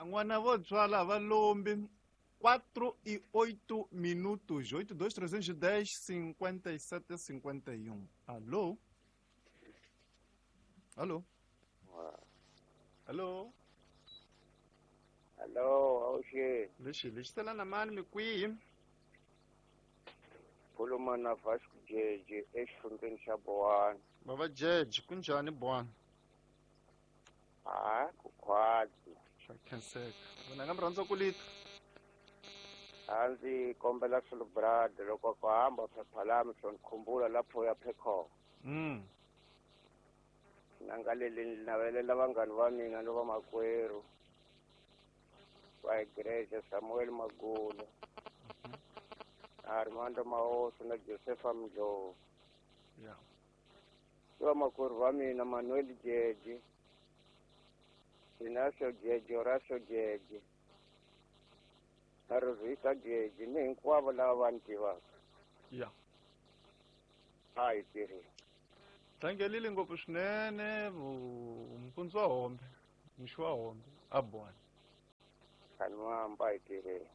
N'wana vo tswala va lombi. 4 e 8 minutos. 82 310 57 51. Alô? Alô? Alô? Hello, awuxeni. Lexi lexi sela na mani mi kwihi? Khuluma na Vasco Jeje exifundzeni xa Bowani. Bava Jeje, kunjhani Bowani? Ha, ku khwatsi. Swa khenseka. Vona nga mi rhandza ku lita. A ndzi kombela swilo loko ku hamba phepha lami swo ni khumbula lapho ya phekho. Na nga leli ni navelela vanghani va mina ni vamakwerhu va igreja Samuel Magula, Armando Maoso na Josefa Mdlovu. Ni vamakwerhu va mina Manuel Jeje, Inacio Jeje, Horacio Jeje, na Rosita Jeje, ni hinkwavo lava va ni tivaka. A hi tirheni. Tlangelile ngopfu swinene mpundzu wa hombe, mixo wa hombe, a bwana. Khanwamba hi tirheni.